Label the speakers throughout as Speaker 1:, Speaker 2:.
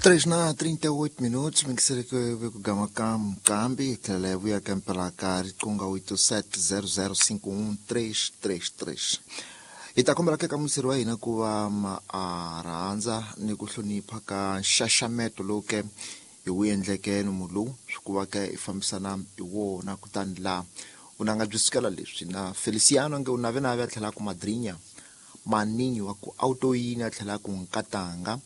Speaker 1: 3 na 38 minutos mingiseleke vekugama ka mqambi hi tlhela hi vuya ka mpela ka riqunga 87005133. Hi ta kombela ke ka museri wa hina ku va ma a rhandza ni ku hlonipha ka nxaxameto lowu ke hi wu endleke nomu lowu swi ku va ke hi fambisana hi wona. Kutani laha vunanga byi sukela leswi na Feliciano nge u navenave a tlhela ku madrinya maninyi wa ku autoyini a tlhela ku nkatanga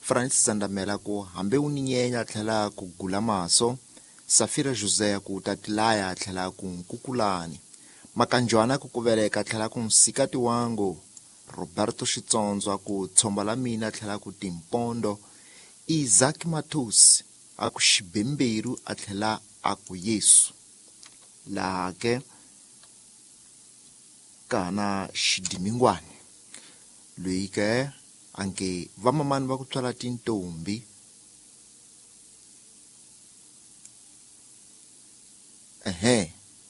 Speaker 1: Francis Zandamela ku hambi u ni nyenya a tlhela ku gula maso, Safira José ku tatilaya a tlhela ku nkukulani, Makanjwana ku kuveleka a tlhela ku nsikati wangu, Roberto Xitsondzwa ku tshomba la mina a tlhela ku timpondo, Isaac Mathus a ku xibemberu a tlhela a ku Yesu. Laha ke ka na xidimingwani loyi ke anke vamamani va ku tswala tintombi ehe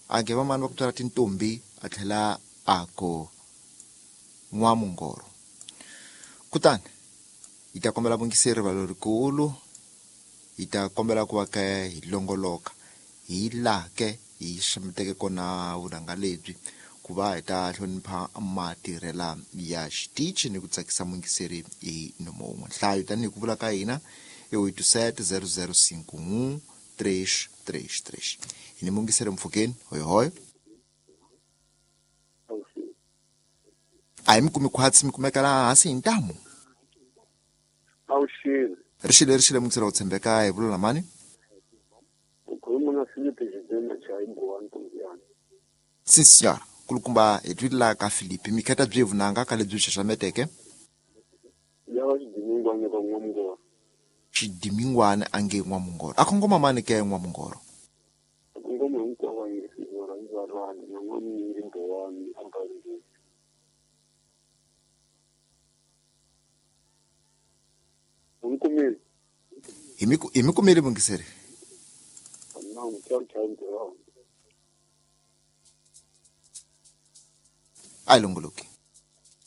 Speaker 1: anke vamani va ku tswala tintombi a tlhela a ku n'wamungoro. Kutani hi ta kombela vungiseri rivalo rikulu, hi ta kombela ku va ke hi longoloka hi laha ke hi xameteke kona vunanga lebyi ku va hi ta hlonipha matirhela ya xitichi ni ku tsakisa mungiseri hi nomo wun'we. Nhlayo tanihi ku vula ka hina i 87 0051 333. Hi ni mungiseri mpfhukeni hoyohoyo. A hi mi kumi khwatsi mi kumeka laha hansi hi ntamu.
Speaker 2: Awuxile.
Speaker 1: Rixile rixile mungiseri wa ku tshembeka hi vula mani.
Speaker 2: Ukhuluma na Filipe Xidema Chayibuwani Ntombiyana.
Speaker 1: Sim senhora, kulukumba hi twile laha ka Filipe mi kheta byi vunanga ka lebyi xaxameteke.
Speaker 2: Ya va xidimingwana ka n'wamungoro.
Speaker 1: Xidimingwana a nge n'wamungoro. A kongoma mani ke n'wamungoro?
Speaker 2: A kongoma hinkwavo a nge rhandzi va rhandi na n'wamunyingi Bowani a Balindeni. U ni kumile?
Speaker 1: Hi mi hi mi kumile mungiseri.
Speaker 2: Na mutswari Chayibuwani.
Speaker 1: A yi longoloki.